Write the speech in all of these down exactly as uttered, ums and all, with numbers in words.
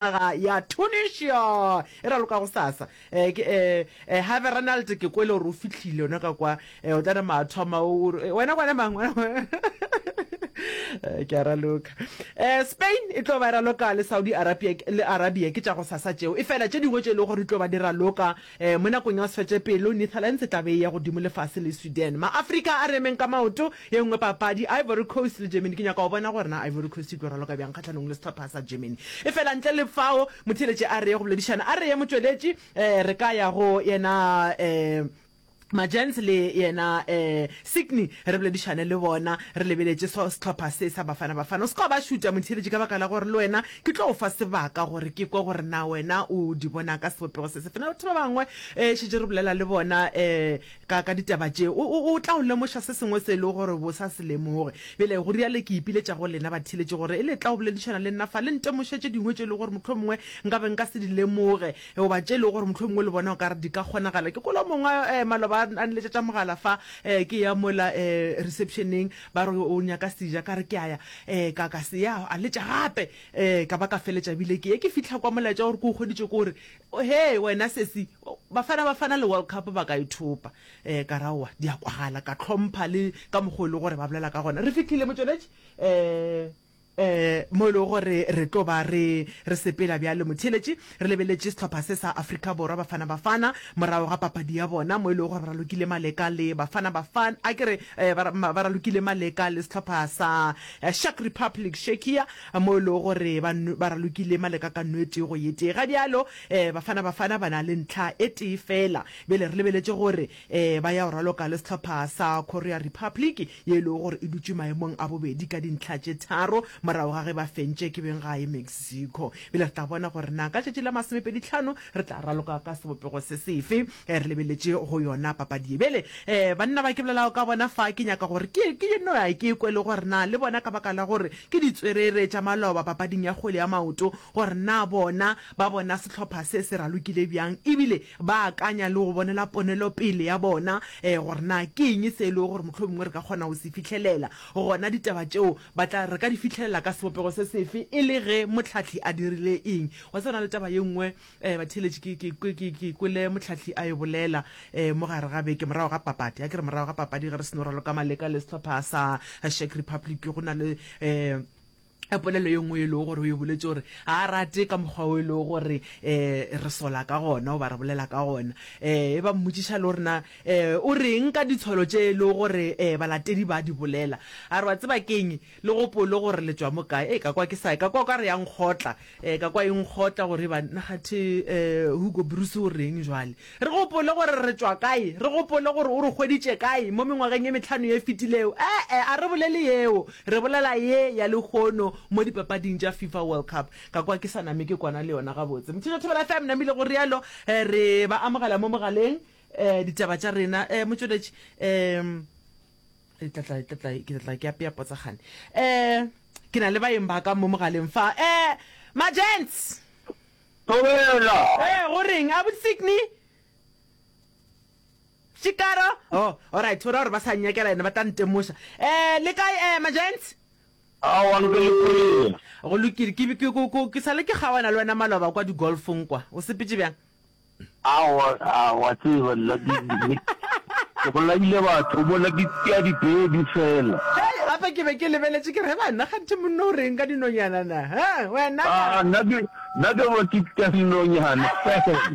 Naga ya Tunisia e raloka gosasa. Eh, ke, eh, eh, Harvey Ronald ke kwele gore o fihlile yona ka kwa. Eh, o tla nama a thoma o, o re, wena kwana mang? Wena, eh, ke a raloka. Eh, Spain e tlo ba e raloka le Saudi Arabia, le Arabia ke tša gosasa tšeo. Efela tše dingwe tše e lego gore di tlo ba di raloka eh, mo nakong ya go se fetše pelo, Netherlands e tla be e ya godimo le fase le Sweden. Ma-Afrika a re emeng ka maoto. Ye nngwe papadi, Ivory Coast le Germany. Ke nyaka go bona gore na Ivory Coast e tlo raloka bjang kgahlanong le sehlopha sa Germany. Efela ntle le fao, motheeletši a re ye go boledišana. A re ye motšweletši, eh, re ka ya go yena, eh, Majens le yena, eh, Sydney, re boledišane le bona, re lebeletše so sehlopha se sa Bafana Bafana. O se ka wa ba šuta, motheeletši, ka baka la gore le wena ke tlo go fa sebaka gore ke kwe gore na wena o di bona ka sebopego se sefe. Na batho ba bangwe, eh, šetše re bolela le bona, eh, ka, ka ditaba tše, o, o, o tla o lemoša se sengwe se e lego gore bo sa se lemoge. Bjale, go rialo ke ipiletša go lena batheeletši gore e le tla go boledišana le nna fa, le ntemoše tše dingwe tše e lego gore mohlomongwe nka be nka se di lemoge, goba tše e lego gore mohlomongwe le bona o ka re di ka kgonagala. Ke kwele o mongwe eh, maloba a, a nletšetša mogala fa, eh, ke ya mola eh, reception-eng, ba re o nyaka seja, ka re ke a ya, eh, ka, ka se ya, a letša gape, eh, ka ba ka feletša bile ke ye. Ke fihla kwa molaetša wa gore ke o hweditše ke gore, Hee wena sesi, Bafana Bafana le World Cup ba ka e thopa. Eh, ka ra aowa, di a kwagala, ka hlompha le ka mokgwa o e le gore ba bolela ka gona. Re fihlile motšweletši, eh, eh, mo e lego gore re tlo ba re, re sepela bjale motheeletši, re lebeletše sehlopha se sa Afrika Borwa, Bafana Bafana, morago ga papadi ya bona, mo e lego gore ba ralokile maleka le Bafana Bafana, a ke re, eh, ba, ba ralokile maleka le sehlopha sa Czech Republic, Czechia, mo e lego gore ba, ba ralokile maleka ka nno e tee go ye tee. Ga bjalo, eh, Bafana Bafana ba na le ntlha e tee feela. Bjale re lebeletše gore eh, ba ya go raloka le sehlopha sa Korea Republic ye e lego gore e dutše maemong a bobedi ka dintlha tše tharo morago ga ge ba fentše ke beng gae Mexico. Bjale re tla bona gore na ka tšatši la masomepedi hlano re tla raloka ka sebopego se sefe. Eh, re lebeletše go yona papadi ye. Bjale eh, banna ba ke bolelago ka bona fa ke nyaka gore ke, ke no ya ke kwe le gore na le bona ka baka la gore ke ditswerere tša maloba papading ya kgwele ya maoto gore na bona ba bona sehlopha se se ralokile bjang ebile ba akanya le go bonela ponelopele ya bona gore na ke eng se e lego gore mohlomongwe re ka kgona go se fihlelela. Gona ditaba tšeo ba tla re ka di fihlelela ka sebopego se sefe e le ge mohlahli a dirile eng. Wa tseba go na le taba ye nngwe batheeletši ke, ke, ke, ke, ke kwele mohlahli a e bolela mo gare ga beke morago ga papadi. A ke re morago ga papadi ge re seno raloka maleka le sehlopha sa Czech Republic go na le polelo ye nngwe e lego gore o e boletše gore ga a rate ka mokgwa o e lego gore um re sola ka gona goba re bolela ka gona. Um e ba mmotšiša le gore na um o reng ka ditsholo tše e lego gore um balatedi ba di bolela. A re wa tseba ke'ng, le gopole gore le tšwa mo kae. Ei ka kwa ke sa, ka kwa o ka re ya nkgotla, um ka kwa e nkgotla gore eba nna kgathe um Hugo Broos o reng jwale. Re gopole gore re tšwa kae, re gopole gore o re hweditše kae mo mengwageng ye mehlano ye fetilego. E-e, a re bolele yeo, re bolela ye ya lehono mo dipapading tša FIFA World Cup. Ka kwa ke sa name ke kwana le yona gabotse. Motšhetšo Thobela F M, namile go realo, re ba amogela mo mogaleng, ditaba tša rena. Motšweletši, ke tla tla, ke tla, ke tla ke apea potsagane. Ke na le baeng ba ka mo mogaleng fa. Ma-gents! Thobela! Ee, go reng? Abuti Sydney? Shikaro? Oh, alright, go ra gore ba sa nnyakela ene ba tla ntemoša. Eh, le kae eh, ma-gents? Aowa, nke le kwele. Go lokile, ke, ke, ke, ke, ke sale ke kgaoana le wena maloba kwa di-golfong kwa. O sepetše bjang? Aowa, a wa tseba nna ke, ke, ke bolaile batho mola ke tšea dipedi fela. Hei, gape ke be ke lebeletše ke re, banna kganthe monna o reng ka dinonyana na? Ha, wena na? A, nna ke, nna ke bo ke tšea dinonyana fela.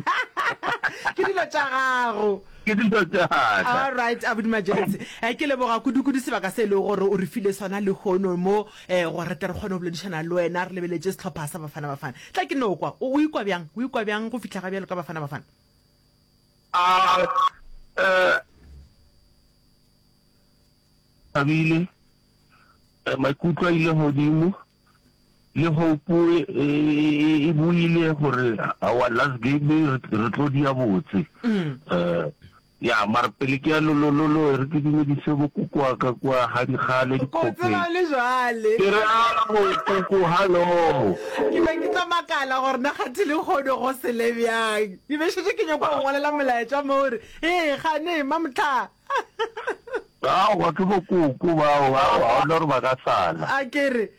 Ke dilo tša gago. Ke dilo tša ka. All right, Abuti Majense. Eh, ke leboga kudu-kudu sebaka se e lego gore o re file sona lehono mo, eh, gore re tle re kgone go boledišana le wena re lebeletše sehlopha sa Bafana Bafana. Tla ke no kwa, o, o ikwa bjang? O ikwa bjang go fihla ga bjalo ka Bafana Bafana? A, eh, thabile, eh, maikutlo a ile godimo, le hope e, e, e boile gore our last game re tlo dia botse. Mm. Eh, Ya, mara pele ke ya lolololo, e re ke dumedise bokoko wa ka kua ga dikgale Ko dikgopeng. tseba le jwale. Ke re ao, koko, hallo. Ke be ke tla makala gore na kgathe lehono go sele bjang. Ke be šetše ke nyaka go ngwalela molaetša mo gore, Hee, kgane, Mamohla. Aowa, ke bokoko bao, aowa, ga gona gore ba ka sala. A ke re.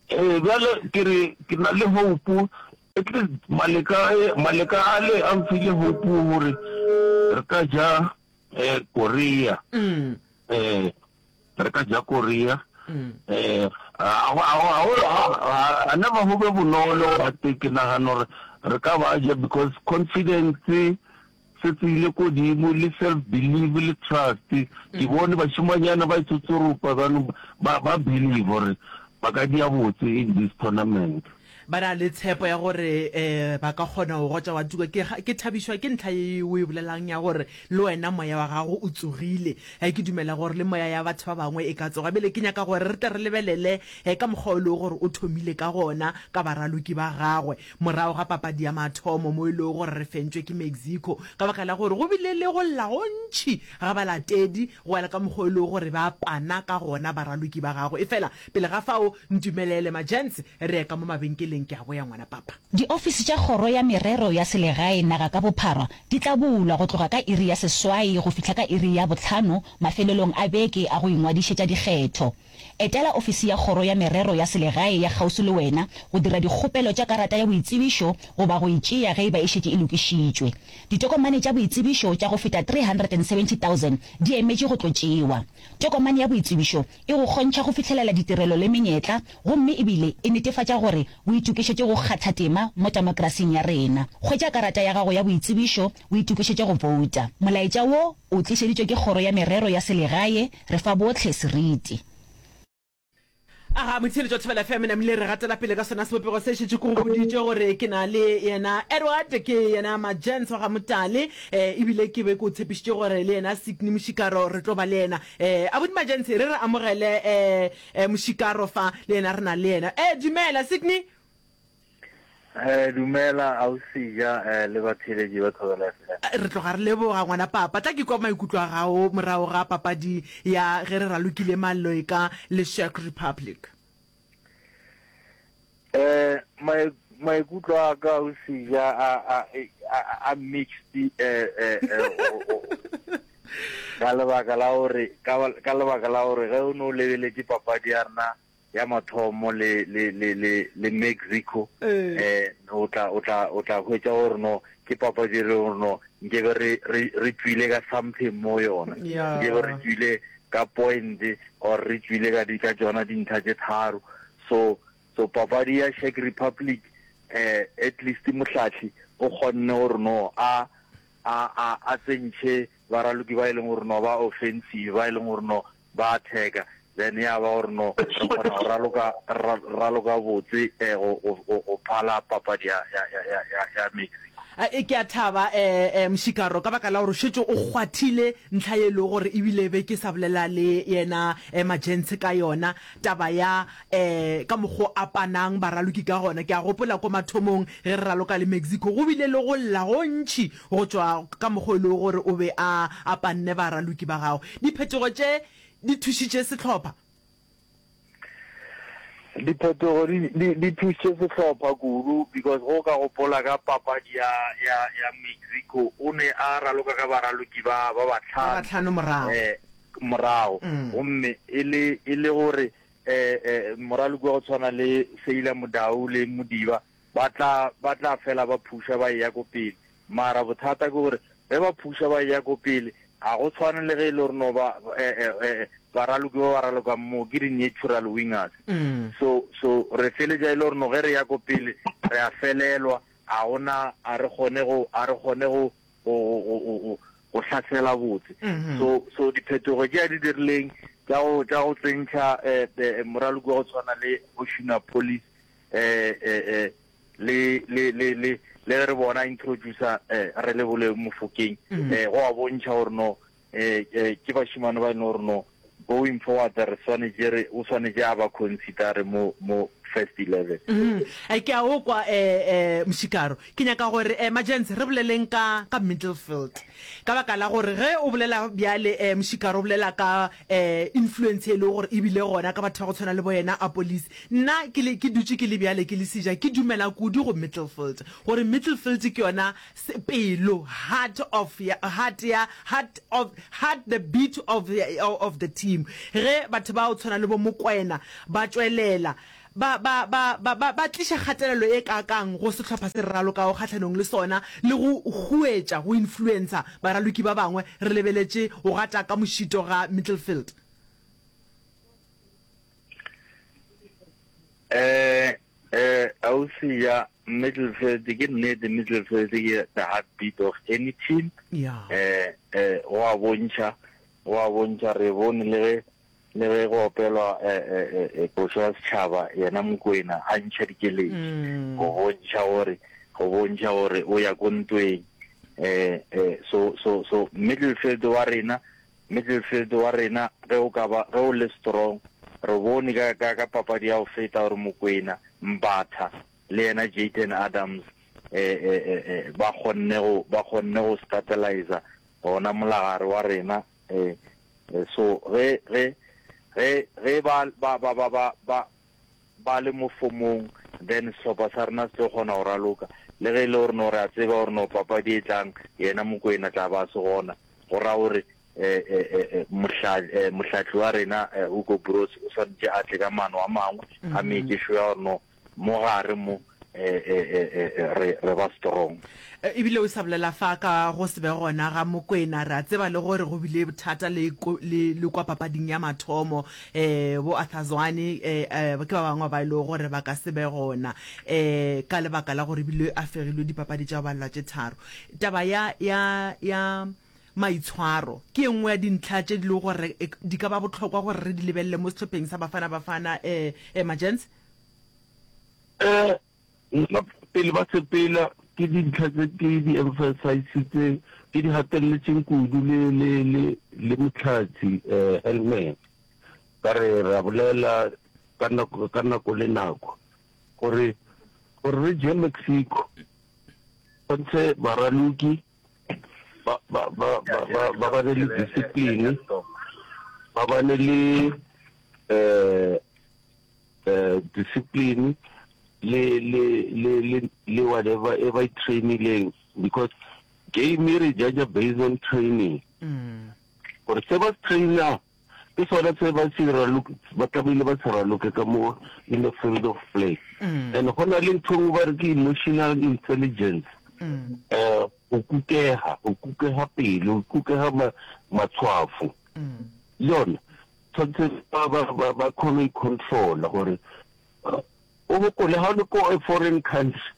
Ee, bjale ke re ke na le hope. At least maleka maleka ale a mfile hope gore re ka ja eh, Korea. Mm. Eh, re ka ja Korea. Mm. Eh, a a a never go be bonolo but ke nagana gore re ka ba ja because confidence se tsile kodimo le self belief le trust. Ke bone bašimanyana ba itsotsoropa bano ba ba believe gore ba ka dia botse in this tournament. Ba na le tshepo ya gore um ba ka kgona go gotša wa tuka. Ke, ke thabišwa ke ntlha ye o e bolelang ya gore le wena moya wa gago o tsogile. Ge ke dumela gore le moya ya batho ba bangwe e ka tsoga. Bjale ke nyaka gore re tle re lebelele eh, ka mokgwa o lego gore o thomile ka gona ka baraloki ba gagwe morago ga papadi ya mathomo mo e lego gore re fentšwe ke Mexico ka baka la gore go bile le go lla gontši ga balatedi go ela ka mokgwa o lego gore ba pana ka gona baraloki ba gagwe. Efela pele ga fao ntumelele ma-gents re ye ka mo mabenkeleng ke a boya ngwana papa. Diofisi tša Kgoro ya Merero ya Selegae naga ka bophara di tla bulwa go tloga ka iri ya seswai go fihla ka iri ya bohlano mafelelong a beke a go ingwadišetša dikgetho. Etela ofisi ya Kgoro ya Merero ya Selegae ya kgauswi le wena go dira dikgopelo tša karata ya boitsebišo goba go e tšea ge e ba e šetše e lokišitšwe. Ditokomane tša boitsebišo tša go feta three hundred and seventy thousand di emetše go tlo tšewa. Tokomane ya boitsebišo e go kgontšha go fihlelela ditirelo le menyetla gomme ebile e netefatša gore o itokišetše go kgatha tema mo temokrasing ya rena. Hwetša karata ya gago ya boitsebišo o itokišetše go bouta. Molaetša wo o tlišeditšwe ke Kgoro ya Merero ya Selegae, re fa bohle seriti. Aga motheeletši wa Thobela F M namile re gatela pele ka sona sebopego se šetše ke go boditše gore ke na le yena Edward ke yena Majens wa ga Motale eh, ebile ke be ke o tshepišitše gore le yena Sydney Mošikaro re tlo ba le yena eh, abuti Majens re re amogele eh, eh, Mošikaro fa le yena re na le yena eh, dumela Sydney. Eh, dumela ausi ja eh, le batheeletši ba Thobela F M. Re tloga re leboga ngwana papa. Tla ke kwa maikutlo a gago morago ga papadi ya ge re ralokile Maloika le Czech Republic. Eh, maikutlo a ka ausi ja a a a, a mixed eh eh, eh ka lebaka la gore ka, ka lebaka la gore ge o no lebeletše papadi ya rena ya mathomo le le le le le Mexico eh o tla o tla o tla hwetša gore no ke papadi e le gore no nkebe re re re tswile ka something mo yona, nkebe re tswile ka point or re tswile ka di ka tsona dintlha tše tharo. So so papadi ya Czech Republic eh at least mohlahli o kgonne gore no a a a a tsentšhe baraloki ba e leng gore no ba offensive ba e leng gore no ba attacker, then ya ba gore no re kgona go raloka raloka botse eh go go go phala papadi ya ya ya ya ya Mexico. E ke a thaba eh eh Mošikaro ka baka la gore šetše o kgwathile ntlha ye le gore ebile be ke sa bolela le yena eh, Majens ka yona taba ya eh ka mokgo a panang baraloki ka gona. Ke a gopola ko mathomong ge re raloka le Mexico go bile le go lla gontši go tšwa ka mokgo e le gore o be a a panne baraloki ba gago. Diphetogo tše di thušitše sehlopha? Diphetogo di di di thušitše sehlopha kudu because go ka gopola ka papadi ya ya ya Mexico o ne a raloka ka baraloki ba ba Ba batlhano batlhano morago. eh morago Mm. gomme e le e le gore eh eh moraloki wa go tshwana le Seila Modau le Modiba ba tla ba tla fela ba phusha ba ya ko pele. Mara bothata ke gore ge ba phusha ba ya ko pele a go tshwane le ge e le gore no ba eh eh eh baraloki ba ba ralokang mo ke di-natural wingers. Mm. So so re feletša e le gore no ge re ya ko pele re a felelwa, a gona a re kgone go a re kgone go go go go go hlasela botse. Mm-hmm. So so diphetogo tše a di dirileng tša go tša go tsentšha eh, eh moraloki wa go tshwana le Oshuna Police eh eh eh le le le le le re bona introducer eh re le bole Mofokeng Mm. eh go a bontšha gore no eh eh ke bashimane ba e leng gore no going forward re swanetše re o swanetše a ba consider mo mo first eleven. Mm. Ke a o kwa eh eh Mošikaro. Ke nyaka gore eh Majens re boleleng ka ka middlefield. Ka baka la gore ge o bolela bjale eh Mošikaro o bolela ka eh influence e le gore ebile gona ka batho ba go tshwana le bo yena a police. Nna ke le ke dutše ke le bjale ke le seja ke dumela kudu go middlefield. Gore middlefield ke yona pelo, heart of ya heart ya heart of heart the beat of the, of the team. Ge batho ba o tshwana le bo Mokwena ba tšwelela ba, ba, ba, ba, ba, ba tliša kgatelelo e kaakang go sehlopha se re ralokago kgahlanong le sona, le go huetša, go influencer, baraloki ba bangwe, re lebeletše go gata ka mošito ga Middlefield? Eh, eh, ausi ya Middlefield, ke nnete, Middlefield ke the heartbeat of any team. Yeah. Eh, eh, go a bontšha, go a bontšha, re bone le ge, le ge go opelwa, eh, eh, eh, eh, košo ya setšhaba, yena Mokwena a ntšha dikeletši, Mm. go bontšha gore, go bontšha gore o ya ko ntweng. Eh, eh, so, so, so Middlefield wa rena, Middlefield wa rena, ge o ka ba, ge o le strong, re bone ka, ka, ka papadi ya go feta gore Mokwena, Mbatha le yena Jayden Adams, eh, eh, eh, eh, ba kgonne go, ba kgonne go stabilizer gona molagare wa rena. Eh, eh, so ge, ge, ge, ge ba, ba, ba, ba, ba, ba, ba le mo fomong, then sehlopha sa rena se tlo kgona go raloka. Le ge e le gore no re a tseba gore no papadi e tlang, yena Mokwena tla ba se gona, go ra gore, eh, eh, eh, eh, mohla-, eh, mohlatli wa rena, eh, Hugo Broos, o swanetše a tle ka maano a mangwe, a make sure ya gore no mo gare mo, eh, eh, eh, eh, eh, re, re ba strong. Eh, ebile o sa bolela fa ka go se be gona ga Mokwena, re a tseba le gore go bile bothata le ko-, le, le kwa papading ya mathomo, eh, bo Arthur Zwane, eh, eh, ke ba bangwe ba e lego gore ba ka se be gona, eh, ka lebaka la gore ebile a fegilwe dipapadi tša go balelwa tše tharo. Taba ya, ya, ya maitshwaro ke e nngwe ya dintlha tše di lego gore, eh, di ka ba bohlokwa gore re di lebelele mo sehlopheng sa Bafana Bafana, eh, eh, Majens? Eh, nna pele ba sepela ke dintlha tse ke di emphasizitseng, ke di gateletseng kudu le, le, le, le mohlatsi, eh, Hellman. Ka re ra bolela ka nako, ka nako le nako gore, gore re je Mexico, tshwantshe baraloki ba, ba, ba, ba, ba, ba bane le discipline, ba bane le, eh, eh, discipline le, le, le, le, le whatever e ba e trainileng, because game e re judge based on training. Mm. Gore se ba se trainer ke sona se ba se raloke, ba tlamehile ba se raloke ka mo in the field of play. Mm. And go na le ntho e nngwe ba re ke emotional intelligence. Mm. Eh, go kukega, go kukega pele, go kukega ma-, matshwafo. Mm. Le yona tshwanetse ba, ba, ba, ba kgone go i-controla gore, eh, o gopole ha o le ko a foreign country,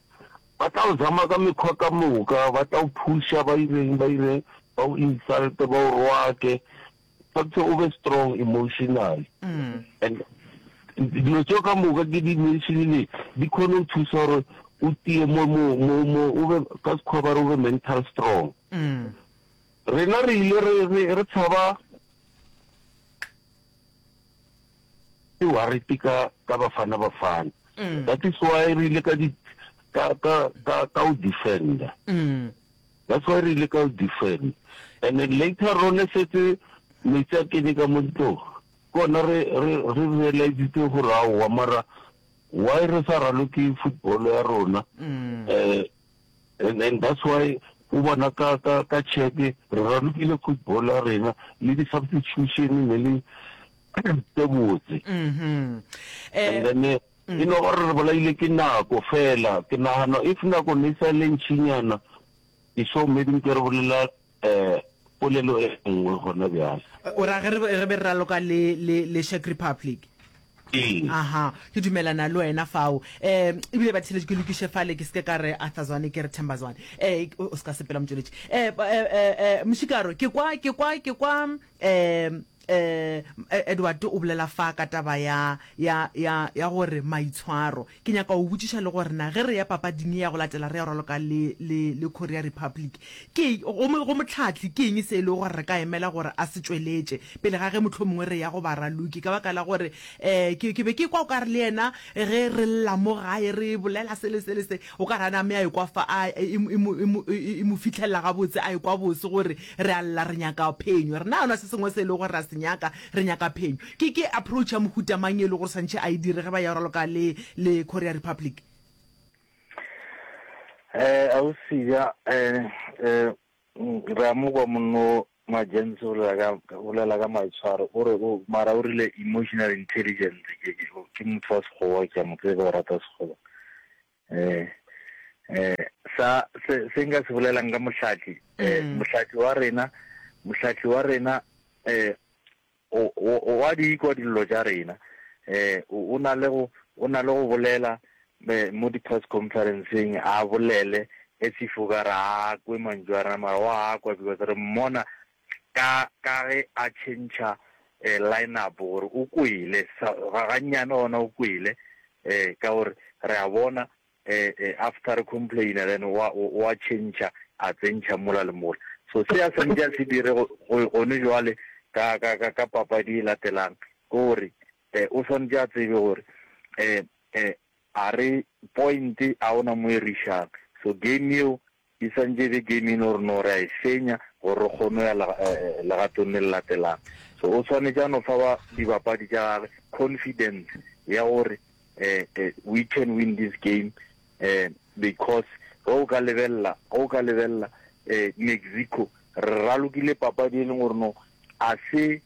ba tla o zama ka mekgwa ka moka, ba tla o pusha, ba ireng, ba ireng, ba o insult, ba o roake. Tshwanetse o be strong emotionally. Mm. And dilo tseo ka moka ke di mentionile, di kgone go thusa gore o tie mo, mo, mo, mo, o be, ka sekgowa ba re o be mental strong. Mm. Rena re ile re, re, re tshaba ke worried ka, ka Bafana Bafana. Mm. That is why re ile ka di, ka, ka, ka, ka o defender. Mm. That's why re ile ka o defend. And then later on setse metsi a kene ka mo ntlong, ke ona re, re, re realizitse gore aowa, mara why re sa raloke football ya rona? Mm. Eh, and, and that's why o bona ka, ka, ka check re ralokile football ya rena le di-substitution ne le tse botse. Mm-hmm. And Eh, then, eh, e no gore re bolaile ke nako fela. Ke nagana if nako ne e sa le ntšinyana, ke sure maybe nke re bolela, eh, polelo e nngwe gona bjale. O ra ge re, re be re raloka le, le, le Czech Republic. Ee. Aha, ke dumelana le wena fao. Eh, ebile ba theletše ke lokiše fale, ke seke ka re Arthur Zwane, ke re Themba Zwane. Eh, o, o se ka sepela motšweletši. Eh, ba, eh, eh, eh, Mošikaro, ke kwa, ke kwa, ke kwa, eh, eh, Edward o bolela fa ka taba ya, ya, ya, ya gore maitshwaro. Ke nyaka go botšiša le gore na ge re ya papading ya go latela re ya raloka le, le, le Korea Republic, ke, go mo, go motlhatli ke eng se e lego gore re ka emela gore a se tšweletše pele ga ge mohlomongwe re ya go baraloki, ka baka la gore, eh, ke, ke be ke kwa o ka re le yena ge re lla mo gae re bolela se le se le se, o ka re a name a ekwa fa, a, e, e, e, e, e, e mo fitlhelela gabotse, a ekwa bose gore re a lla, re nyaka phenyo. Rena ga ona se sengwe se e lego gore ra se nyaka, re nyaka phenyo. Ke, ke approach ya mohuta mang e le gore swantšhe a e dire ge ba ya raloka le, le Korea Republic? Eh, ausi ya, eh, eh, re a mo kwa monno Majens o bolela ka bolela ka maitshwaro o re o mara o rile emotional intelligence ke ke ke motho wa sekgowa ke a mo tseba o rata sekgowa eh eh sa se se nka se bolelang ka mohlatli eh Mm. mohlatli wa rena mohlatli wa rena eh o o wa di ikwa dillo tša rena eh o na le go o na le go bolela eh, mo di press conferenceng a bolele as if o ka re a kwe mantšu a rena mara wa kwa because re mmona ka ka ge a change eh, line up gore o kwele ga gannyane gona o kwele eh ka gore re a bona eh, eh after re complain then wa wa change a tsentšha mola le mola so se a santse a se dire gone jwale ka ka ka ka papadi e latelang ke gore eh, o swanetše a tsebe gore eh, eh, a re point a ona mo e rišang so game eo e santse e be game e le gore no re a e fenya gore re kgone ya legatong le le latelang so o tshwanetse a no fa ba dibapadi tša gage confidence ya gore eh, eh, we can win this game eh, because ge o ka lebelela ge o ka lebelela eh, Mexico re ralokile papadi e leng gore no a se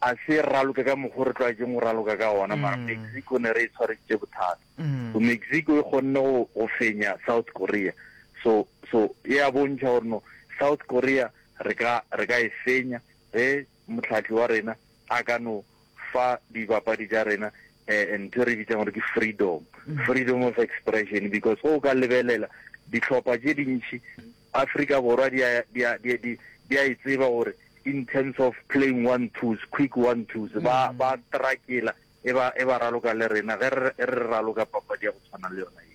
a se raloke ka mokgwa re tlwaetseng go raloka ka ona mara Mm. Mexico ne re e tshwareditše bothata Mm. so Mexico e kgonne go go fenya South Korea so so e a bontšha gore no South Korea re ka re ka e fenya ge motlhatli wa rena a ka no fa dibapadi tša rena eh, ntho e re bitsang gore ke freedom freedom of expression because go o ka lebelela dihlopha tše dintši Afrika Borwa di a di a di di di a e tseba gore in terms of playing one twos quick one twos ba ba trakela e ba e ba raloka le rena ge re re raloka papadi ya go tshwana le yona eo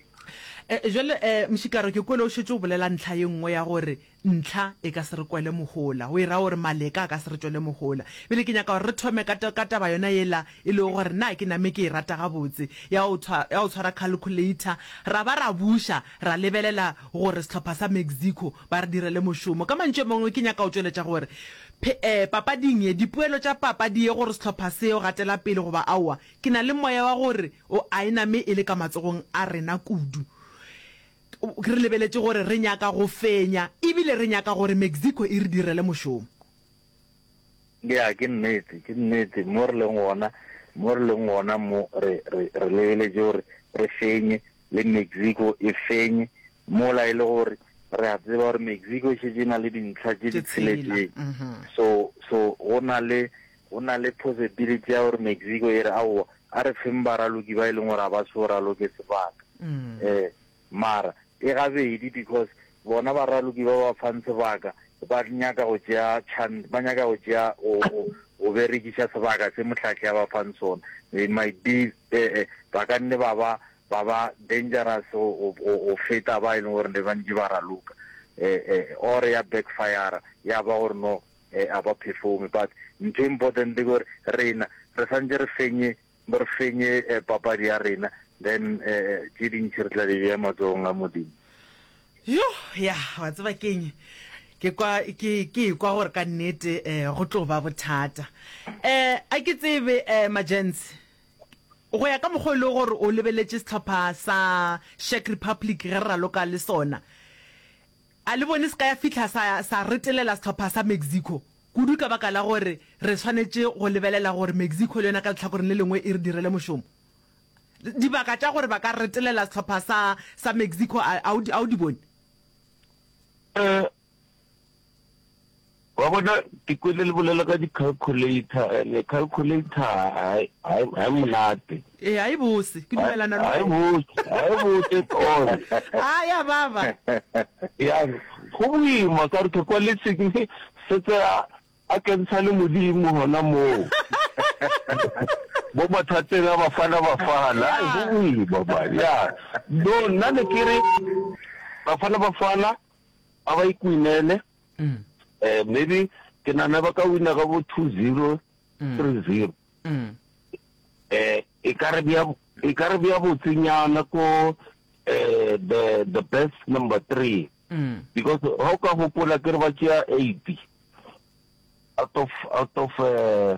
Eh, jwale eh Mšikaro ke kwele o šetše o bolela ntlha ye nngwe ya gore ntlha e ka se re kwele mohola o e ra gore maleka a ka se re tšwele mohola bele ke nyaka gore re thome ka ka taba yona yela e lego gore nna ke name ke e rata gabotse ya go tshwa- ya go tshwara calculator ra ba ra buša ra lebelela gore sehlopha sa Mexico ba re direle mošomo ka mantšu a mangwe ke nyaka go tšweletša gore phe- eh, papading ye dipoelo tša papadi ye gore sehlopha seo gatela pele goba aowa ke na le moya wa gore o a e name e le ka matsogong a rena kudu re lebeletše gore re nyaka go fenya ebile re nyaka gore Mexico e re direle mošomo ya ke nnete ke nnete mo re leng gona mo re leng gona mo re re re lebeletše gore re fenye le Mexico e fenye mola e le gore re a tseba gore Mexico e šetše e na le dintlha tše di Tše tshela. tsheletseng Mhm. so so go na le go na le possibility ya gore Mexico e re aowa a re feng baraloki ba e leng gore ga ba so raloke sebaka Mm. eh mara e gabedi because bona baraloki ba ba fang sebaka ba nyaka go tšea chance ba nyaka go tšea go go- go berekiša sebaka se mohlahli a ba fang sona they might be eh, eh, ba ka nne ba ba ba ba dangerous go go- go feta ba e leng gore ne ba ntše ba raloka eh, eh, or ya backfire ya ba gore no eh, a ba performe but ntho e important ke gore rena re santse re fenye re fenye eh, papadi ya rena then eh, tše dintši re tla di bea matsogong a modimo yo ya wa tseba keng ke kwa ke ke kwa gore ka nnete eh go tlo ba bothata eh a ke tsebe eh majens go ya ka mokgwa e le gore o lebeletše sehlopha sa Czech Republic ge re raloka le sona a le bone se ka ya fihla sa sa retelela sehlopha sa Mexico kudu ka baka la gore re swanetše go lebelela gore Mexico le yona ka letlhakoreng le lengwe e re direle mošomo dibaka tša gore ba ka retelela sehlopha sa sa Mexico a a o di a o di bone Eh, wa bona ke kwele le bolela ka di-calculator and calculator ha e monate ee a e bose ke dumelana le ha e wena. bose ha e bose at all a ya baba ya go boima ka re ke kwa le se setse a a kentsha le modimo hona moo bo mathateng a bafana bafana ai go boima man ya no nna ne ke re bafana bafana a ba ikwinele Mm, eh maybe ke nana ba ka wina ka bo two zero three zero mm, eh e ka re bea e ka re bea botsenyana ko eh the the best number three mm. because ha o ka hopola ke re ba tšea eight out of out of uh,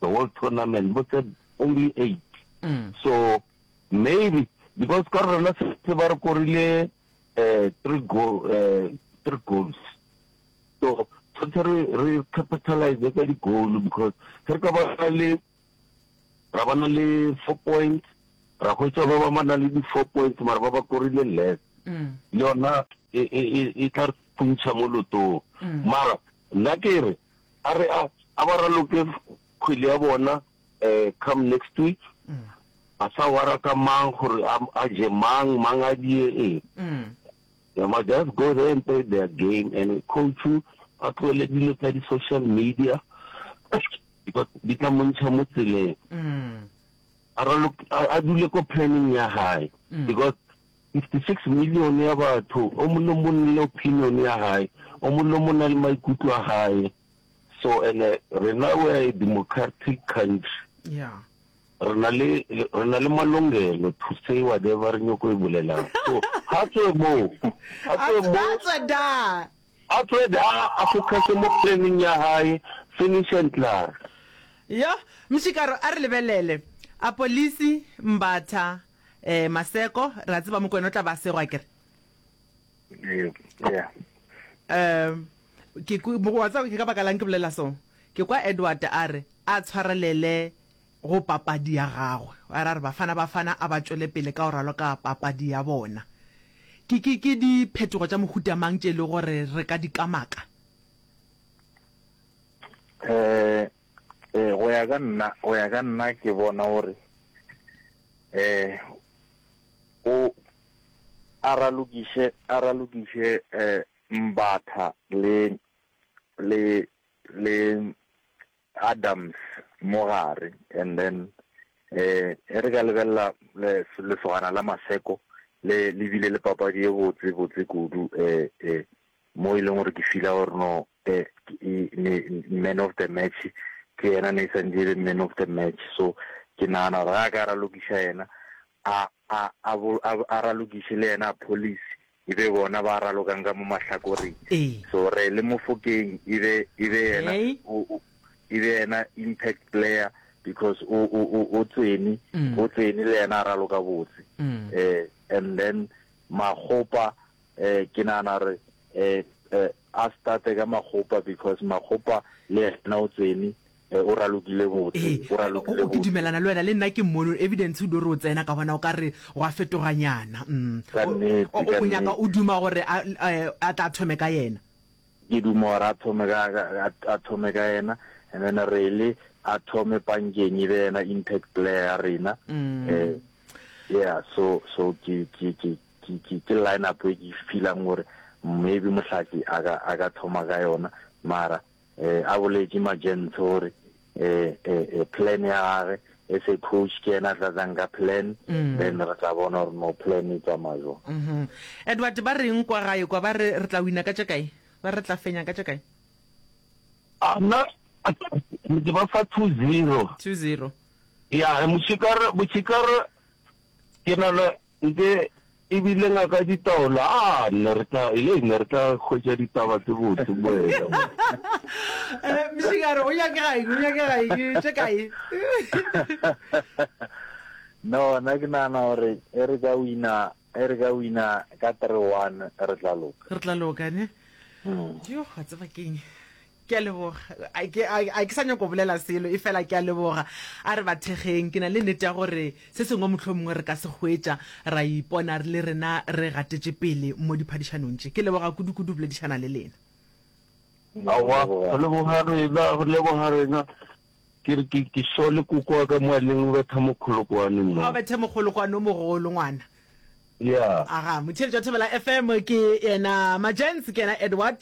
the whole tournament but only eight Mm. so maybe because ka rena se ba re korile eh three goal eh three goals so Tshwanetse re re capitalize ka di-goal because ge re ka ba le ra ba na le four points ra hwetša ba ba na le di-four points mara ba ba korile less Mm. le yona e, e, e, e tla re phuntšha mo lotong Mm. mara nna ke re a re a a ba raloke kgwele ya bona um come next week Mm. a sa wara ka mang gore a a je mang mang a die eng Mm. They must just go there and play their game and coach a tlohele dilo tsa di-social media because di tla mo ntšha mo tseleng Mm. a raloke a a dule ko planning ya hae Mm. because fifty-six million ya batho o mongwe le mongwe le opinion ya hae o mongwe le mongwe o na le maikutlo a hae so and rena we are a democratic country Yeah. re na le re na le malongelo to say whatever re nyoko e bolelang so ha tswe mo ha tswe mo A tswe da. a tswe da a focus mo planning ya hae finish and klaar Yo, Mshikaro a re lebelele. A polisi Mbatha eh Maseko ra tseba Mokwena o tla ba segwa kere. Yeah. Yeah. Um ke ku- mo wa tseba ke ka baka lang ke bolela so. Ke kwa Edward a re a tshwarelele go papadi ya gagwe. A re a re bafana bafana a ba tšwele pele ka go raloka papadi ya bona. Ke ke ke diphetogo tša mohuta mang tše e le gore re ka di kamaka? Eh eh go ya ka nna go ya ka nna ke bona gore eh o a ralokiše a ralokiše eh Mbatha le le le Adams mo gare and then eh e re ka lebelela le lesogana la Maseko le le bile le papadi e botse botse kudu eh eh mo e leng gore ke feela gore no eh e- ne- man of the match ke yena ne santse e be man of the match so ke nagana gore ga a ka ralokiša yena a a a bo- a a ralokiše le yena police e be bona ba ralokang ka mo mahlakoreng Ee. so re le Mofokeng e be e be yena Hey. o o- e be yena impact player because o o o o tsene Mm. o tsene le yena a raloka botse Mm. eh and then Makgopa eh ke nagana gore eh eh, a starte ka Makgopa because Makgopa le yena o tsene eh, o ralokile botse Ee, o ralokile o- ke botse dumelana le wena le nna ke mmono evidence o di re o tsena ka bona o ka re go a fetoganyana mm. Ka O- nnete, o ka o nyaka nnete. o duma gore a a- a tla thome ka yena ke duma gore a thome ka ka- a a thome ka yena and then re a thome pankeng e be yena impact player ya rena Mm. eh yeah so so ke ke ke ke ke ke line up e ke feelang gore maybe Mohlaki a ka a ka thoma ka yona mara eh a boletše magents gore eh eh eh, plan ya gage as a coach ke yena a tla tlang ka plan Mm. then re tla bona gore no plan e tsamaya jwang Mhm. Edward ba reng kwa gae kwa ba re re tla wina ka tše kae ba re tla fenya ka tše kae a nna ke ba fa two zero two zero ya mošikare mošikare ke nana nke ebile ngaka ditaola a nne re tla ye ne re tla hwetša ditaba tse botse boela Eh, Mshikaro o nyakega eng o nyakega eng tše kae no nna ke nagana gore e re ka wina e re ka wina ka three one re tla loka re tla loka ne Mm. yo wa tseba keng ke a leboga A ke a- a ke sa nyako bolela selo e fela ke a leboga a re bathekgeng ke na le nnete ya gore se sengwe motlho mongwe re ka se hwetša ra ipona re le rena re gatetše pele mo diphadišanong tše ke leboga kudu-kudu boledišana le lena aowa go leboga rena go leboga rena ke re ke ke sole koko wa ka moaleng o betha mokgolokwane a mo bethe mogolokwane o mogolo ngwana ya aga motheletši wa Thobela F M ke yena Majens ke yena Edward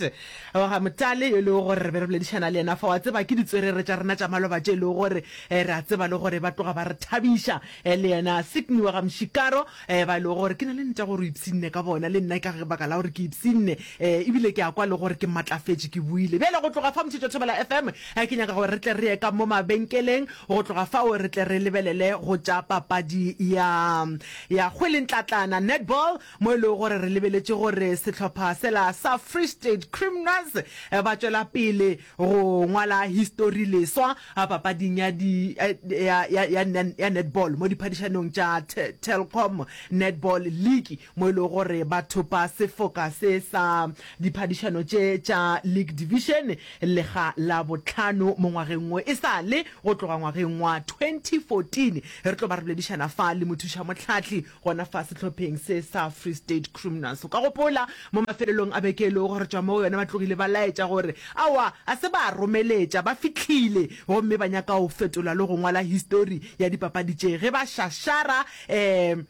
wa ga Motale yo e lego gore re be re boledišana le yena fa wa tseba ke ditswerere tša rena tša maloba tše e lego gore eh, re a tseba le gore ba tloga ba re thabiša eh, le yena Sydney wa ga Mshikaro eh, ba e lego gore ke na le nnete ya gore o ipshinne ka bona le nna ka baka la gore ke ipshinne eh, ebile ke a kwa le gore ke matlafetše ke buile bjale go tloga fa motheletši wa Thobela F M eh, ke nyaka gore re tle re ye ka mo mabenkeleng go tloga fao re tle re lebelele go tša papadi ya ya kgwele ntlatlana netball, mo e lego gore re lebeletše gore sehlopha sela sa Free State Criminals ba tšwela pele go ngwala histori leswa papading ya di ya ya ya ya netball mo diphadišanong tša Telkom Netball League, mo e lego gore ba thopa sefoka se sa diphadišano tše tša League Division lekga la bohlano mo ngwageng wo e sa le go tloga ngwageng wa twenty fourteen. Re tlo ba re boledišana fa le mothušamohlahli gona fa sehlopheng se sa Free State Criminals. O ka gopola mo mafelelong a beke e lego gore tšwa mo go yona ba tlogile ba laetša gore aowa a se ba romeletša, ba fihlile gomme ba nyaka go fetola le go ngwala histori ya dipapadi tše ge ba šašara um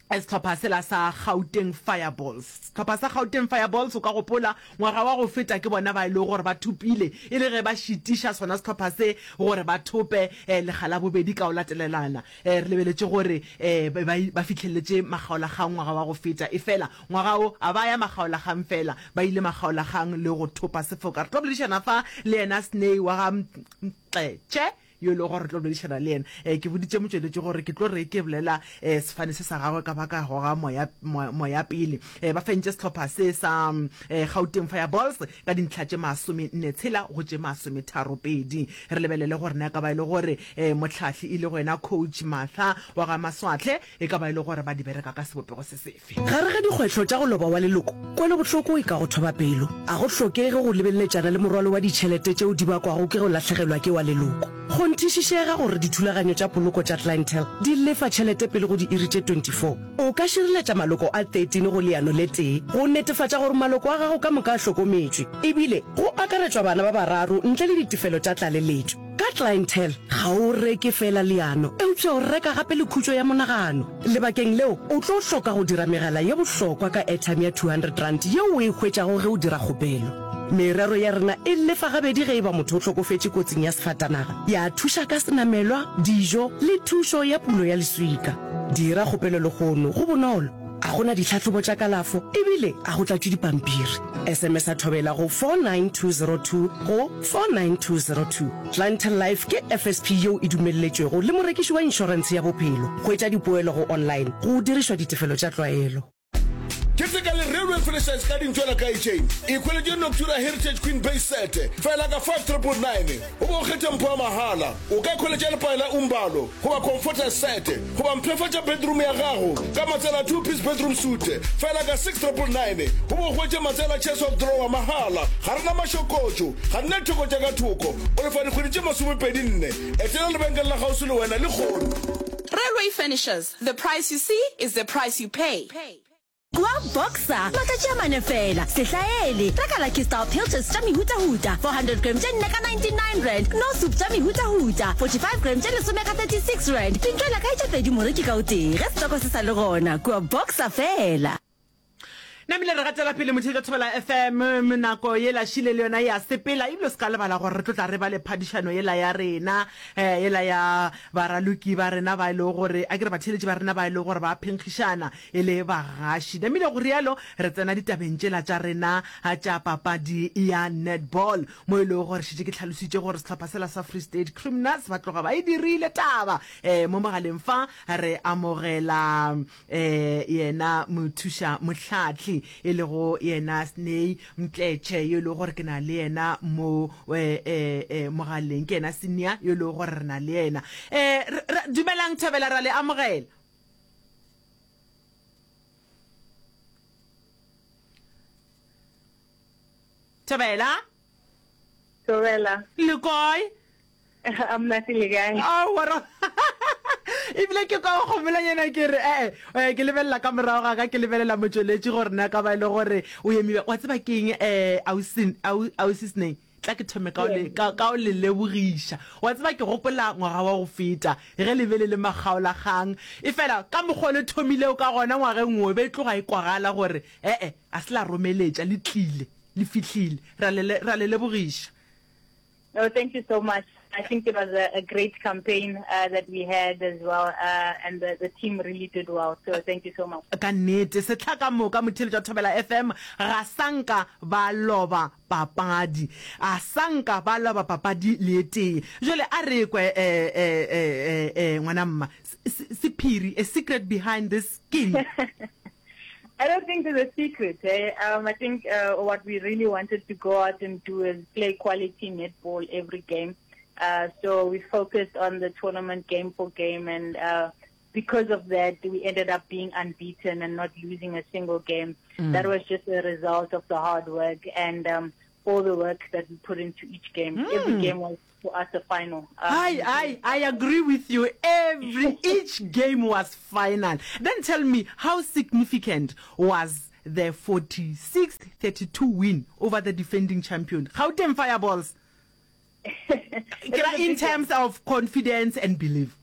sehlopha sela sa Gauteng Fireballs. Sehlopha sa Gauteng Fireballs, o ka gopola ngwaga wa go feta ke bona ba e lego gore ba thopile e le ge ba šitiša sona sehlopha se gore ba thope lekga la bobedi ka go latelelana. Re lebeletše gore ba ba fihleletše makgaolakgang ngwaga wa go feta, efela ngwaga wo a ba ya makgaolakgang fela, ba ile makgaolakgang le go thopa sefoka. Re tlo boledišana fa le yena Sney wa ga Mxetse yo e lego gore re tlo boledišana le yena. Eh, ke boditše motšweletši gore ke tlo re ke bolela eh, sefane se sa gagwe ka ba ka goga moya, moya, moya pele. Eh, ba fentše sehlopha se sa eh, Gauteng Fireballs ka dintlha tše masome nne tshela go tše masome tharo pedi. Re lebelele gore na e ka ba e le gore eh, mohlahli e lego yena Coach Martha wa ga Maswahle e ka ba e le gore ba di bereka ka sebopego se sefe. Gare ga dikgwehlo tša go loba wa leloko, kwelobohloko e ka go thoba pelo. A go hlokege go lebeleletšana le morwalo wa ditšhelete tšeo di bakwago ke go lahlegelwa ke wa leloko. Kgonthišišega gore dithulaganyo tša poloko tša Clientele di lefa tšhelete pele go diiri tše twenty four. O ka šireletša maloko a thirteen go leano le tee go netefatša gore maloko a gago ka moka a hlokometšwe, e bile go akaretšwa bana ba bararo ntle le ditefelo tša tlaleletšo. Ka Clientele, ga o reke feela leano, eupša o reka gape le khutšo ya monagano. Lebakeng leo, o tlo hloka go dira megala ye bohlokwa ka airtime ya two hundred rand yeo o e hwetšago ge o dira kgopelo. Merero ya rena e lefa gabedi ge e ba motho o hlokofetše kotsing ya sefatanaga, ya thuša ka senamelwa, dijo le thušo ya pulo ya leswika. Dira kgopelo lehono, go bonolo, a go na ditlhahlobo tša kalafo e bile a go tlatšwe dipampiri. S M S a Thobela go four nine two zero two go four nine two zero two. Clientele Life ke F S P yeo e dumelletšwego le morekiši wa inšorentshe ya bophelo. Hwetša dipoelo go online go dirišwa ditefelo tša tlwaelo. Keteka le Railway Furnishers ka dintšwela ka itšeng. Ikhweletše Noctura Heritage Queen Base Set fela ka five triple nine o be o kgethe mpho ya mahala. O ka ikhweletša lepae la Umbalo goba Comforter Set goba mphefatša bedroom ya gago ka matsela two piece bedroom suite fela ka six triple nine o be o hwetše matsela chest of drawer mahala. Ga re na mašokotšo, ga re na ditheko tša ka thoko. O lefa dikgwedi tše masomepedi nne. Etela lebenkele la kgauswi le wena lehono. Railway Furnishers, the price you see is the price you pay. Kua Boxer, matšatši a mane feela, sehlaele, reka Lucky Star Pilchards tša mehutahuta, four hundred gram tše nne ka ninety nine rand, Knorr soup tša mehutahuta, forty five gram tše lesome ka thirty six rand, dintšwela kae tše pedi moreki ka o tee, ge setoko se sa le gona, kua Boxer feela. Namile re gatela pele motheetša Thobela F M, nako yela šile le yona ya sepela, ebile o se ka lebala gore re tlo tla re ba le phadišano yela ya rena, eh, yela ya baraloki ba rena ba e lego gore, a ke re batheeletši ba rena ba e lego gore ba phenkgišana e le bagaši. Namile go rialo re tsena ditabeng tšela tša rena tša papadi ya netball, mo e lego gore šetše ke hlalositše gore sehlopha sela sa Free State Criminals ba tloga ba e dirile taba. Eh, mo mogaleng fa re amogela eh, yena mothuša mohlahli e lego yena Sney Mtletše yo e lego gore ke na le yena mo eh, eh, eh, mogaleng, ke yena senior yo e lego gore re na le yena. Eh, re, re, dumelang Thobela, ra le amogela. Thobela. Thobela. Le kae? A monate le kae? Aowa ra ebile ke kwa go gomolanyana ke re ee eh, ke lebelela ka morago ga ka, ke lebelela motšweletši gore na ka ba e le gore o emibe. Wa tseba keng um ausi Sney, tla ke thome ka o le ka ka o le lebogiša. Wa tseba ke gopola ngwaga wa go feta ge le be le le makgaolakgang, efela ka mokgwa o le thomilego ka gona ngwageng wo, e be e tloga e kwagala gore ee a se la romeletša, le tlile, le fihlile. Ra le ra le lebogiša. No, thank you so much. I think it was a, a great campaign uh, that we had as well, uh, and the, the team really did well. So thank you so much. Ka nnete, sehla ka moka motheeletši wa Thobela F M ga sa nka ba loba papadi. A sa nka ba loba papadi le e tee. Jwale a re kwe, eh, eh, eh, eh, ngwana mma, sephiri, a secret behind this skin. I don't think there's a secret. Eh? Um, I think uh, what we really wanted to go out and do is play quality netball every game. Uh, so we focused on the tournament game for game, and uh, because of that, we ended up being unbeaten and not losing a single game. Mm. That was just a result of the hard work and um, all the work that we put into each game. Mm. Every game was for us a final. Um, I, I, I agree with you. Every each game was final. Then tell me, how significant was the forty-six thirty-two win over the defending champion, Gauteng Fireballs? In terms of confidence and belief.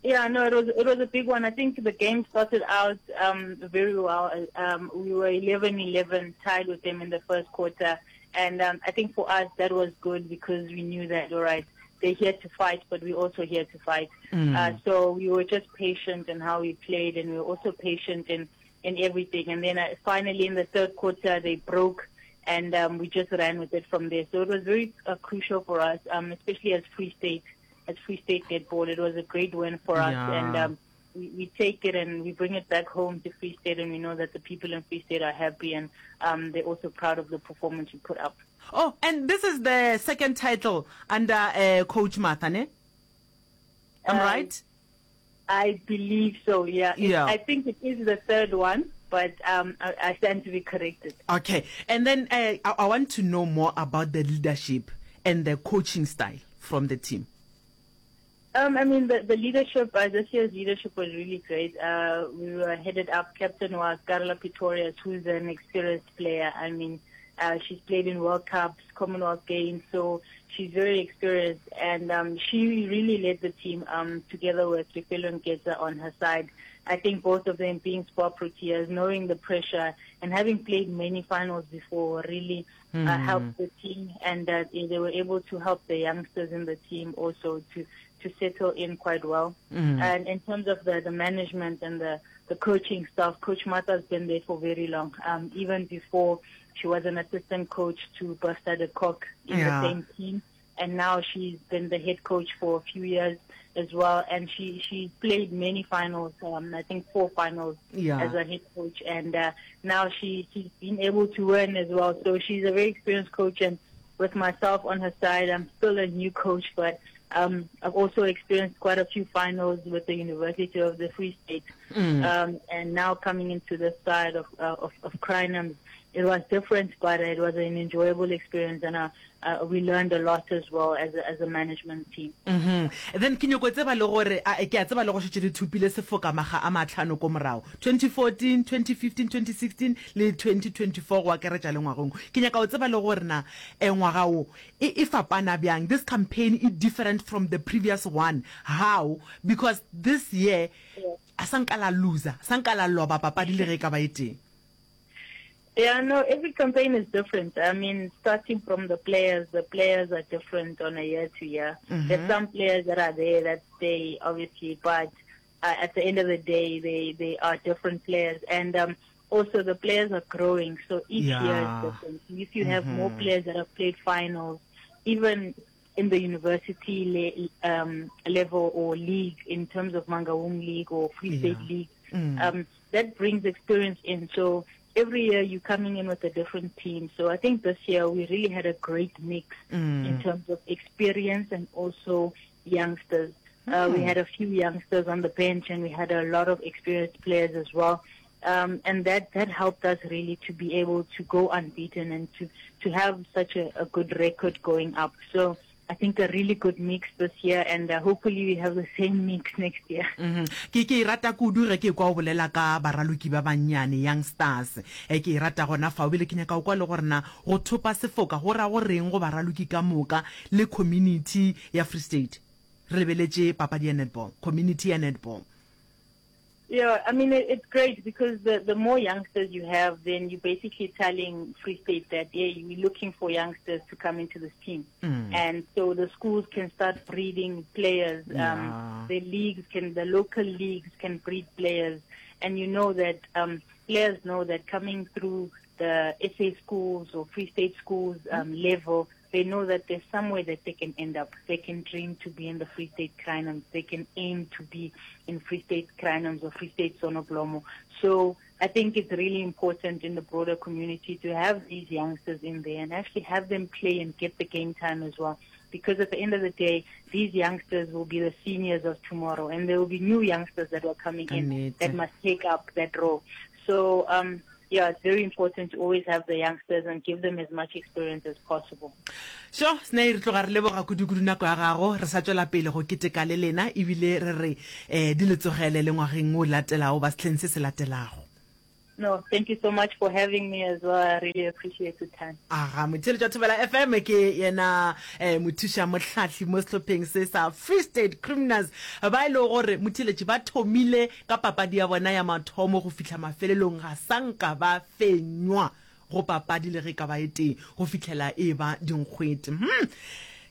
Yeah, no, it was, it was a big one. I think the game started out, um, very well. Um, we were eleven eleven, tied with them in the first quarter. And, um, I think for us that was good because we knew that, all right, they're here to fight, but we're also here to fight. Mm. Uh, so we were just patient in how we played, and we were also patient in, in everything. And then, uh, finally in the third quarter, they broke, and, um, we just ran with it from there. So it was very, uh, crucial for us, um, especially as Free State, as Free State netball. It was a great win for us, yeah. and, um, we, we take it and we bring it back home to Free State, and we know that the people in Free State are happy, and, um, they're also proud of the performance we put up. Oh, and this is the second title under, uh, Coach Martha, ne? I'm uh, right? I believe so, yeah. Yeah. It, I think it is the third one, but, um, I, I stand to be corrected. Okay. And then, uh, I, I want to know more about the leadership and the coaching style from the team. Um, I mean, the, the leadership, uh, this year's leadership was really great. Uh, we were headed up. Captain was Carla Pretorius, who's an experienced player. I mean, uh, she's played in World Cups, Commonwealth Games, so she's very experienced. And, um, she really led the team, um, together with Lefelo Nketsa on her side. I think both of them being SPAR Proteas, knowing the pressure and having played many finals before, really mm. uh, helped the team. And, uh, they were able to help the youngsters in the team also to, to settle in quite well. Mm. And in terms of the, the management and the, the coaching staff, Coach Martha has been there for very long, um, even before she was an assistant coach to Buster de Kock in yeah. the same team. And now she's been the head coach for a few years as well. And she, she played many finals, um, I think four finals yeah. as a head coach. And, uh, now she, she's been able to win as well. So she's a very experienced coach. And with myself on her side, I'm still a new coach, but Um, I've also experienced quite a few finals with the University of the Free State. Mm. Um, and now coming into this side of, uh, of, of Crinums, it was different, but it was an enjoyable experience, and, uh, uh, we learned a lot as well as a, as a management team. Mm-hmm. Then ke nyoko tseba le gore, a, ke a tseba le go šetše le thupile sefoka maga a matlhano ko morago, twenty fourteen, twenty fifteen, twenty sixteen le twenty twenty-four go akaretša le ngwagong. Ke nyaka go tseba le gore na, eh, ngwaga wo e, e fapana bjang. This campaign is different from the previous one. How? Because this year, Yeah. a sa nka la loser, sa nka la loba papadi le ge e ka ba e teng. Yeah, no, every campaign is different. I mean, starting from the players, the players are different on a year to year. Mm-hmm. There's some players that are there that stay, obviously, but, uh, at the end of the day, they, they are different players. And, um, also the players are growing, so each Yeah. year is different. If you have Mm-hmm. more players that have played finals, even in the university le- um, level or league, in terms of Mangaung League or Free State Yeah. League, Mm. um, that brings experience in. So every year you're coming in with a different team. So I think this year we really had a great mix mm. in terms of experience and also youngsters. Uh, we Mm. had a few youngsters on the bench, and we had a lot of experienced players as well. Um, and that, that helped us really to be able to go unbeaten and to, to have such a, a good record going up. So I think a really good mix this year, and, uh, hopefully we have the same mix next year. Mm-hmm. Ke ke e rata kudu ge ke kwa o bolela ka baraloki ba bannyane, young stars. E ke e rata gona fao, ebile ke nyaka go kwa le gore na go thopa sefoka go ra go reng go baraloki ka moka le community ya Free State. Re lebeletše papadi ya netball, community ya netball. Yeah, I mean, it, it's great because the, the more youngsters you have, then you're basically telling Free State that, yeah, we're looking for youngsters to come into this team. Mm. And so the schools can start breeding players. Um, Yeah. The leagues can, the local leagues can breed players. And you know that, um, players know that coming through the S A schools or Free State schools, um, level, they know that there's somewhere that they can end up. They can dream to be in the Free State Crinums. They can aim to be in Free State Crinums or Free State Sonoblomo. So I think it's really important in the broader community to have these youngsters in there and actually have them play and get the game time as well. Because at the end of the day, these youngsters will be the seniors of tomorrow, and there will be new youngsters that are coming in that must take up that role. So, um, yeah, it's very important to always have the youngsters and give them as much experience as possible. Sho, Snai, re tloga re leboga kudu-kudu nako ya gago. Re sa tšwela pele go keteka le lena ebile re re um di le tsogele le ngwageng o latelago ba sehleng se se latelago. No, thank you so much for having me as well. I really appreciate the time. Aga, motheeletši wa Thobela F M ke yena eh, mothuša mohlahli mo sehlopheng se sa Free State Criminals, ba e lego gore motheeletši ba thomile ka papadi ya bona ya mathomo go fihla mafelelong ga sa nka ba fenywa go papadi le ge e ka ba e tee go fihlela e ba dinkgwete. Hmm.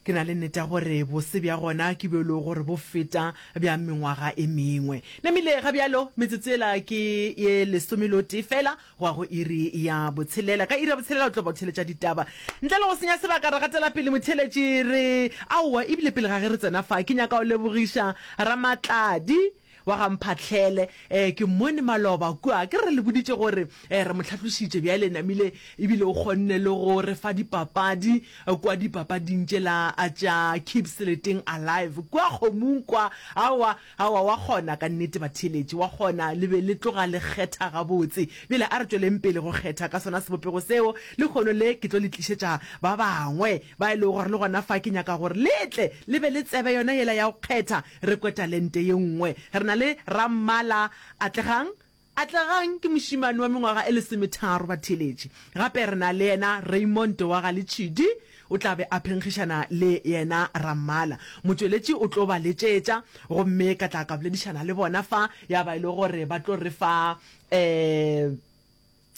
Ke na le nnete ya gore bose bja gona ke bjo e lego gore bo feta bja mengwaga e mengwe. Namile ga bjalo metsotso yela ke ye lesome le o tee fela go ya go iri ya botshelela. Ka iri ya botshelela o tlo ba o theeletša ditaba. Ntle le go senya sebaka re gatela pele motheeletši re aowa ebile pele ga ge re tsena fa ke nyaka go lebogiša Ramatladi wa ga Mphahlele. Eh, ke mmone maloba kua, ke re le boditše gore eh, re mo hlatlošitše bjale namile ebile o kgonne le go re fa dipapadi kua dipapading tšela tša Keep Seleteng Alive kua kgomong kwa. Aowa, aowa, wa kgona ka nnete batheeletši, wa kgona, le be le tloga le kgetha gabotse. Bjale a re tšweleng pele go kgetha ka sona sebopego seo. Lehono le ke tlo le tlišetša ba bangwe ba e lego gore le gona fa ke nyaka gore le tle le be le tsebe yona yela ya go kgetha, re kwe talente ye nngwe. Re na le Rammala Atlegang. Atlegang ke mošemane wa mengwaga e lesometharo batheeletši. Gape re na le yena Raymond wa ga Letšhidi, o tla be a phenkgišana le yena Rammala. Motšweletši o tlo ba letšetša gomme ka tla ka boledišana le bona fa, ya ba e le gore ba tlo re fa um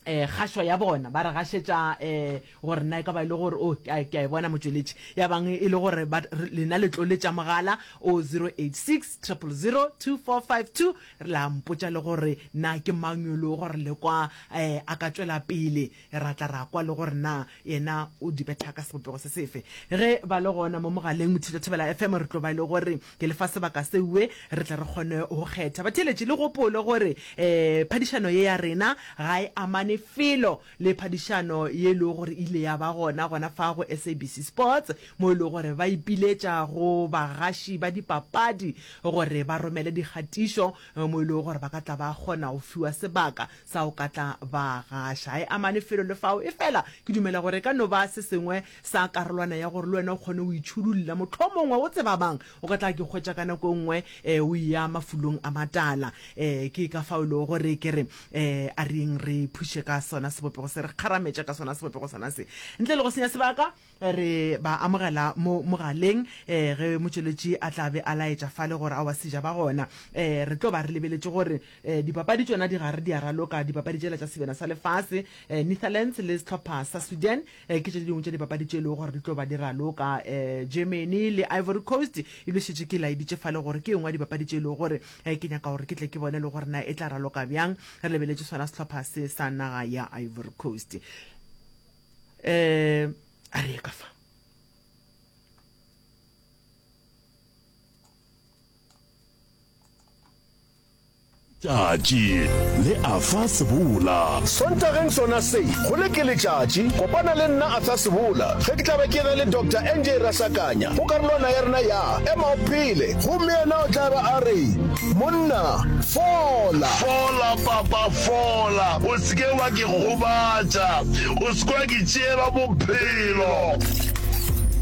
eh kgašo ya bona, ba re gašetša eh gore na e ka ba e le gore o ke a e bona motšweletši, ya bang e le gore ba lena le tlo letša mogala o zero eight six triple zero two four five two, la mpotša le gore na ke mang yo le gore le kwa eh a ka tšwela pele, ra tla ra kwa le gore na yena o di betha ka sebopego se sefe. Ge ba le gona mo mogaleng Mothito Thobela F M, re tlo ba e le gore ke le fa sebaka seuwe re tle re kgone go kgetha batheeletši. Le gopole gore eh phadišano ye ya rena ga e amane felo le phadišano ye e lego gore ile ya ba gona gona fa go S A B C Sports, mo e lego gore ba ipiletša go bagaši ba dipapadi gore ba romele dikgatišo mo e lego gore ba ka tla ba kgona go fiwa sebaka sa go ka tla ba gaša. Ga e amane felo le fao, efela ke dumela gore e ka no ba se sengwe sa karolwana ya gore le wena o kgone go itšhudulla, mohlomongwe o tseba mang o ka tla ke hwetša ka nako e nngwe o eya mafulong a matala. Ke ka fao e lego gore ke re a re yeng re phuše ka sona sebopego se, re kgarametše ka sona sebopego sona se. Ntle le go senya sebaka, re ba amogela mo mogaleng ge motšweletši a tla be a laetša fale gore aowa seja ba gona. Re tlo ba re lebeletše gore dipapadi tšona di gare di a raloka, dipapadi tšela tša sebjana sa lefase, Netherlands le sehlopha sa Sweden ke tše dingwe tša dipapadi tše e lego gore di tlo ba di raloka. Germany le Ivory Coast ebile šetše ke laeditše fale gore ke e nngwe ya dipapadi tše e lego gore ke nyaka gore ke tle ke bone le gore na e tla raloka bjang, re lebeletše sona sehlopha se sa naga ya Ivory Coast. Eh, a re ye ka fa. Tšatši le Arthur Sebola. Sontageng sona se, go le ke letšatši, kopana le nna Arthur Sebola ge ke tla be ke na le Doctor N J Rasakanya go karolwana ya rena ya Ema o Phele gomme yena o tla be a re, Monna, fola! Fola, papa, fola! O se ke wa ke gobatša, o se ke wa ke tšeela bophelo.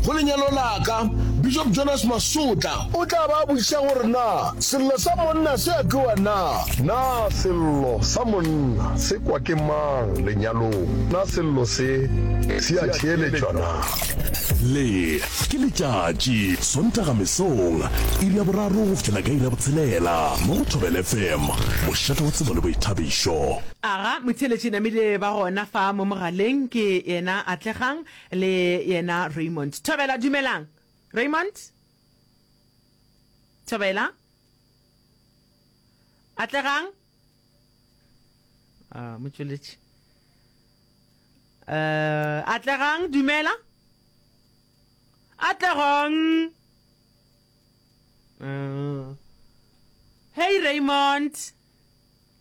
Go lenyalo la ka, Bishop Jonas Masotla o tla ba a botšiša gore na sello sa monna se a kwewa na. Na sello sa monna se kwa ke mang lenyalong? Na sello se se a theeletšwa na? Le ke letšatši, Sontaga mesong, iri ya boraro go fihlela ka iri ya botshelela, mo go Thobela F M, mošate wa tsebo le boithabišo. Aga, motheeletši namile ba gona fa mo mogaleng ke yena Atlegang le yena Raymond. Thobela, dumelang. Raymond? Thobela? Atlegang? Ah, motšweletši. Uh, Atlegang, dumela. Atlegang. Uh, hey Raymond.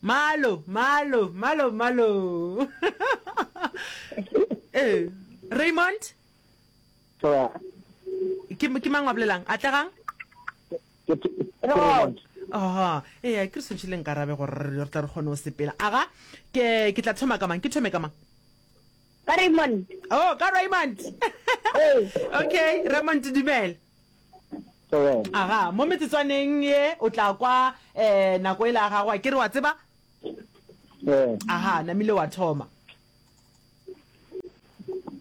Malo, malo, malo, malo. Ee, Raymond? Ke ke mang wa bolelang? Atlegang? Raymond. Aha, ee, ke re swantšhe le nkarabe gore re tla re kgone go sepela. Aga, ke ke tla thoma ka mang? Ke thome ka mang? Ka Raymond. Oh, ka Raymond. Okay, Raymond dumela. Aga, mo metsotswaneng ye o tla kwa eh nako e la gago, ke re wa tseba? Aha, namile wa thoma.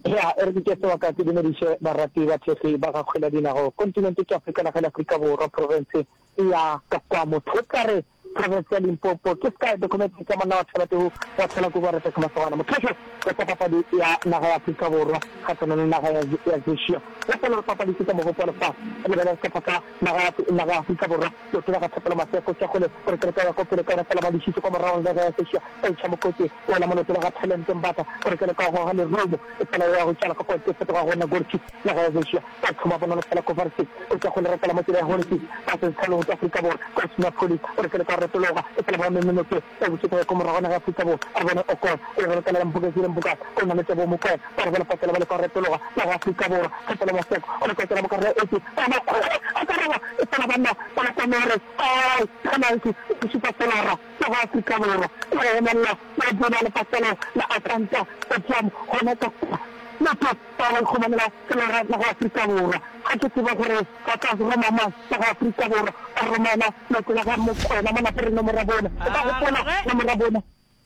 Ya, e re ke tšee sebaka ke dumediše barati ba thekgi ba ga kgwele ya dinago kontinente ke Afrika naga le Afrika Borwa profense ya ka kwa motho o tla re profense ya Limpopo ke sky document tša monna wa Thabeteu wa thola kubu wa reta ke masogana mothošo wa tša papadi ya naga ya Afrika Borwa kgahlanong le naga ya ya Zeshia gopola gore papadi ke tša mogopo wa lefase lebelela sehlopha sa naga ya naga ya Afrika Borwa leoto la ga Thapelo Maseko tša kgole gore kereke ya ko pele ka yona fela ba lešitše kwa morago naga ya Zeshia ba itšha mokotse wela mo leoto la ga Talente Mbatha gore kereke ya goga lerumo e fela ya go tšala ka kwa ke fetoga go nna goalkeeper naga ya Zeshia ba thoma bonolo fela Kovacic o tša kgole retela mo tsela ya Hollis ba se tshalong tša Afrika Borwa ka Osman Appollis o re ka retologa e fela ba memenoke ba bušetša ya ko morago naga ya Afrika Borwa a bone Okon o re retelela Mpokezi le Mpokase o na le Teboho Mokoena ba re bone patela ba leka go retologa naga ya Afrika Borwa Thapelo Maseko o leka go tsena mo karolo ya eighteen ba makgwekgwe a ka roba e fela banna ba la Komere ai penalty e šupa Solara naga ya Afrika Borwa e go emelela le go bona lepatlelo la Atlanta Stadium gona ka kwa Motho ba ba ikhumanela tsela naga ya Afrika Borwa. Ga ke tsebe gore ba tla roma mang naga ya Afrika Borwa. Ba romela leoto la ga Mokwena mo lapeng nomoro ya bone. O ka gopola nomoro ya bone?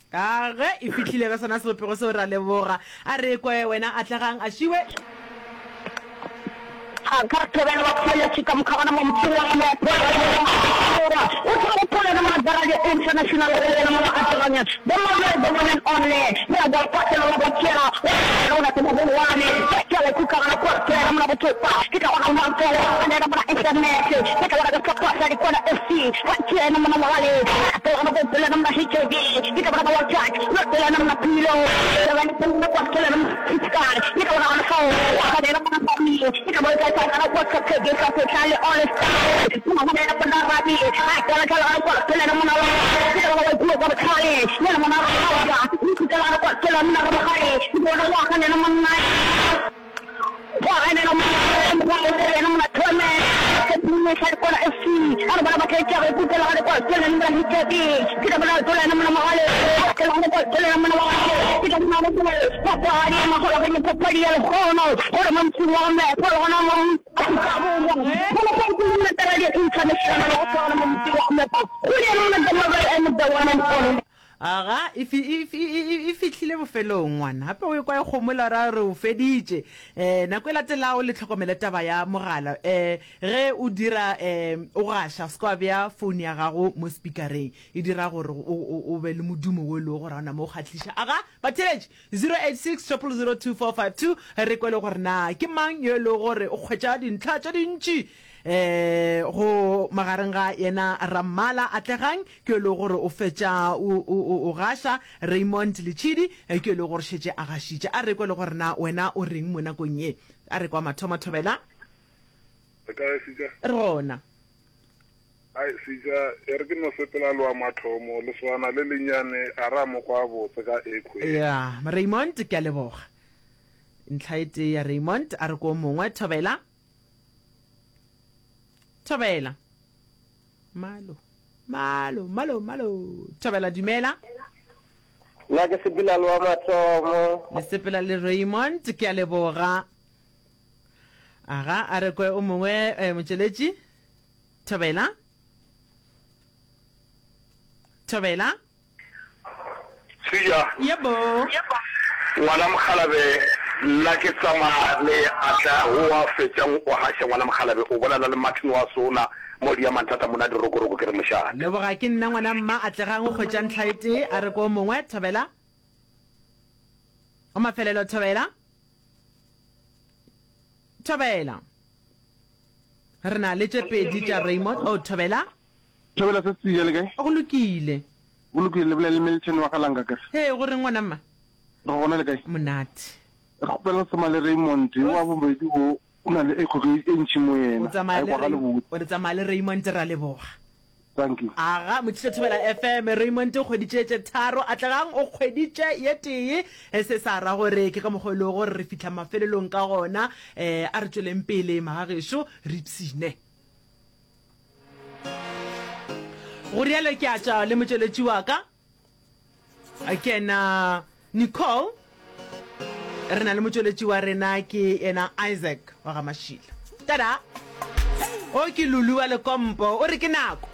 Ka ge e fihlile ka sona sebopego seo, ra leboga. A re kwe wena Atlegang Ašiwe. Ga thobela ba kgoletše ka moka gona mo motseng wa Borwa. O tla gopola le Madarage International go yena mo Atlegang. The Manuel the one and only. Ya ba patela wa ba tšea wa rona ke mogolwane. Ke le kuka gana kwa tsela mona botopa. Ke tla gona mona tsela ana mona internet. Ke tla gona ka kwa sa dikwana F C. Wa tšea mona mogale. Ke gona go pela mona H I V. Ke tla bona wa chat. Wa pela mona pilo. Ke gona go kwa tsela mona fiskal. Ke tla gona fa wa ga dela mona mami. Ke tla bona ka gana kwa ka ke ka se tlale all star. Mona gona mona rabi. A tla tla gana kwa tsela mona wa. Ke tla gona go kwa tlale. Yena mona ra wa. Ke tla gana kwa tsela mona ra gare. Ke bona wa ga nena monna. Wa ga nena monna. Wa ga nena monna thome. Ke nne sa dikwana F C. A re bona ba tla tšea go tla gana kwa tsela mona H I V. Ke tla bona tsela mona mogale. Ke tla gana kwa tsela mona wa. Ke tla bona go papadi ya magolo ke papadi ya lekgono. Gore mo motseng wa me, gore gona mo Afrika Borwa. Go go go nna tla di international go tswana mo motseng wa me. Go yena mona the mobile and the one and only. Aga e e fihlile bofelong ngwana. Gape o kwa e kgomola ra re o feditše. Eh nako e latelago le tlhokomele taba ya mogala. Eh ge o dira eh o gaša se kwa bea phone ya gago mo speakereng. E dira gore o be le modumo o le gore ona mo kgahliša. Aga batheletši zero eight six triple zero two four five two re kwele gore na ke mang yo le gore o kgwetša dintlha tše dintši eh go magareng ga yena Rammala Atlegang ke le gore o fetša o o gaša Raymond Lechidi ke le gore šetše a gašitše. A re kwe le gore na wena o reng mo nakong ye. A re kwa mathomo thobela. Re kae Sitša? Re gona. Ai Sitša, e re ke no sepela le wa mathomo le swana le lenyane a ra mo kwa botse ka ekhwe. Ya, Raymond ke a leboga. Ntlha e tee ya Raymond a re ko mongwe thobela. Thobela. Malo. Malo, malo, malo. Thobela dumela. Nna ke sepela le wa mathomo. Le sepela le Raymond ke a leboga. Aga a re kwe o mongwe eh, motšweletši. Thobela. Thobela. Sija. Yebo. Ngwana Mokgalabe nna ke tsamaya le atla o wa fetšang o gaša ngwana Mokgalabe o bolela le Martin wa sona mo di ya manthata mona dirokoroko ke re mošate. Leboga ke nna ngwana mma Atlegang o kgwetša ntlha e tee a re ko mongwe thobela. O mafelelo thobela. Thobela. Re na le tše pedi tša Raymond. O thobela. Thobela se se le kae? Go lokile. Go lokile le bolela le Milton wa Galanga kere. He go re ngwana mma. Re gona le kae? Monate. Re kgopela sema le Raymond wa bobedi o o na le ekgo e ntši mo yena. O tsamaya le o tsamaya le Raymond ra leboga. Thank you. Aga, Mothiša Thobela FM, Raymond o kgweditše tše tharo, Atlegang o kgweditše ye tee. E, se sa ra gore ke ka mokgwa e lego gore re fihla mafelelong ka gona. E, a re tšweleng pele, magagešo, re ipshine. Go rialo ke a tšwa le motšweletši wa ka, ke yena Nicole. Re na le motšweletši wa rena ke yena Isaac wa ga Mašila. Tada! O ke Lulu wa Lekompo, o re ke nako.